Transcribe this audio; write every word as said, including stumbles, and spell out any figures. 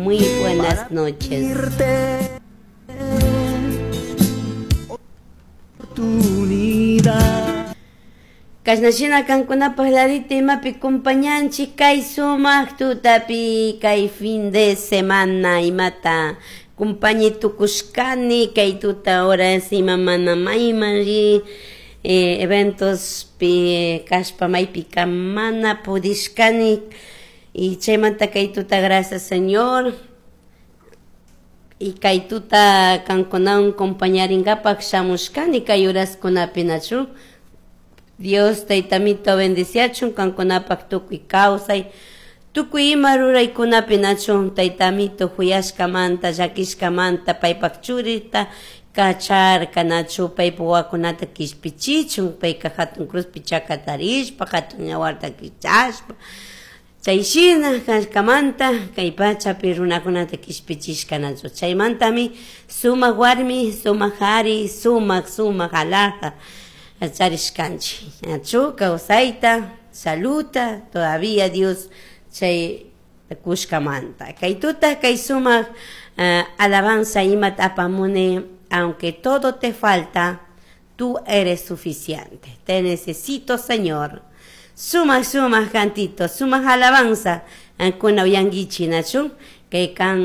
Muy buenas noches. Kashnashina kankunapaj ladita imapi compañanchik kay sumaq tutapi kay fin de semana imata kumpañi tukushkani kay tuta horas ima mana mayman ri eh, eventos pi kashpa maypika mana pudishkani y chaymanta kay tuta gracias Señor y kay tuta kankunawan compañarinkapak shamushkani kay horaskunapi nachu Dios taytamito bendiciachun kankunapak tukuy kawsay tukuy ima ruraykunapi nachun taytamito huyashkamanta llakishkamanta paypak churita kacharka nachu paypak wawakunata kishpichichun payka hatun cruzpi chakatarishpa hatun yawarta kichashpa chay shina kashkamanta kay pachapi runakunata kishpichishka nachu chaymantami sumak warmi sumak ari sumak sumak alhaja charishkanchik nachu kawsayta saluta todavía Dios chay kushkamanta kay tuta kay sumak uh, alabanza imata apamuni aunque todo te falta tú eres suficiente te necesito Señor sumak sumak cantito sumak alabanza kuna uyankichik nachu kay kan